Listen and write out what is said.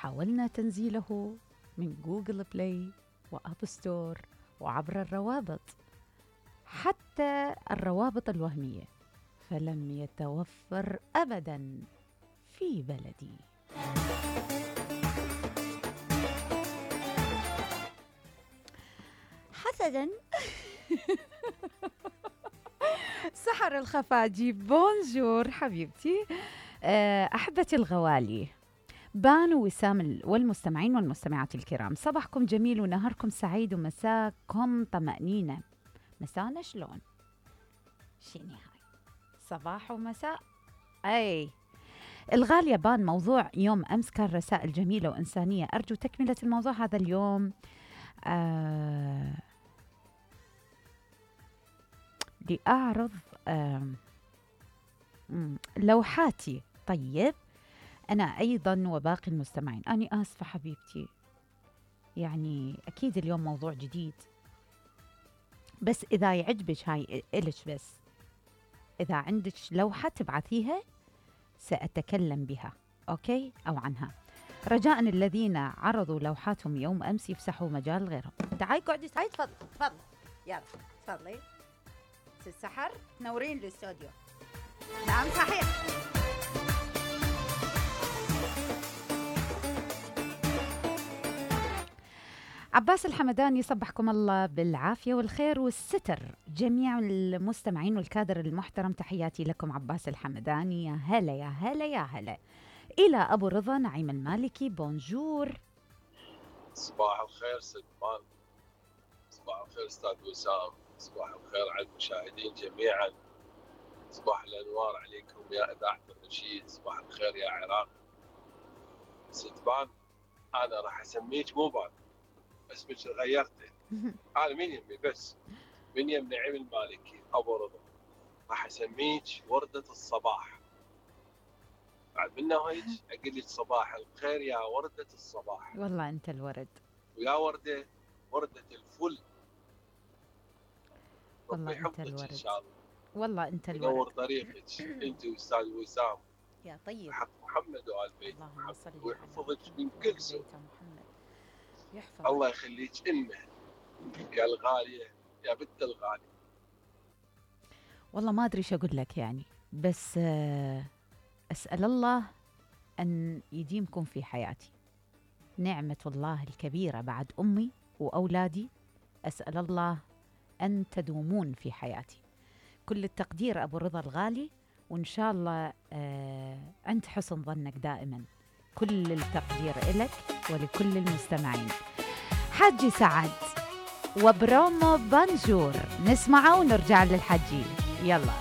حاولنا تنزيله من جوجل بلاي وأب ستور وعبر الروابط، حتى الروابط الوهمية، فلم يتوفر أبداً في بلدي. حسداً سحر الخفاجي. بونجور حبيبتي. أحبتي الغوالي، بان وسام والمستمعين والمستمعات الكرام، صباحكم جميل ونهاركم سعيد ومساكم طمأنينة. مسانا شلون؟ شيني هاي صباح ومساء. أي الغالية، بان موضوع يوم أمس كان رسائل جميلة وإنسانية، أرجو تكملة الموضوع هذا اليوم. لأعرض لوحاتي. طيب أنا أيضا وباقي المستمعين، أنا آسفة حبيبتي، يعني أكيد اليوم موضوع جديد، بس إذا يعجبك هاي إلش، بس إذا عندك لوحة تبعثيها سأتكلم بها، أوكي، أو عنها. رجاء الذين عرضوا لوحاتهم يوم أمس يفسحوا مجال غيرهم. تعالي قعدي، تعالي، تفضل تفضل، يلا تفضلي السحر، نورين الاستوديو. نعم صحيح. عباس الحمداني، صبحكم الله بالعافية والخير والستر جميع المستمعين والكادر المحترم، تحياتي لكم. عباس الحمداني، يا هلا يا هلا يا هلا. إلى أبو رضا نعيم المالكي، بونجور. صباح الخير سلمان، صباح الخير أستاذ وسام، صباح الخير على المشاهدين جميعا، صباح الأنوار عليكم يا إذاعة الرشيد، صباح الخير يا عراق. ست بان، أنا راح أسميك مو بان، اسمك غيرته. أنا من يمي، بس من يم نعيم المالكي أبو رضا، راح أسميك وردة الصباح. بعد منه هيك أقول لك صباح الخير يا وردة الصباح. والله أنت الورد، ويا وردة، وردة الفل. والله أنت الورد، إن شاء الله. والله أنت الورد، ينور طريقك أنت وأستاذ وسام يا طيب، حق محمد وآل بيت محمد، ويحفظك من كل سوء. يحفظك. الله يخليك إمه يا الغالية، يا بنت الغالية. والله ما أدري شو أقول لك يعني، بس أسأل الله أن يديمكم في حياتي. نعمة الله الكبيرة بعد أمي وأولادي، أسأل الله أن تدومون في حياتي. كل التقدير أبو رضا الغالي، وإن شاء الله عند حسن ظنك دائما. كل التقدير إلك ولكل المستمعين. حجي سعد وبرومو بانجور، نسمعه ونرجع للحجي. يلا.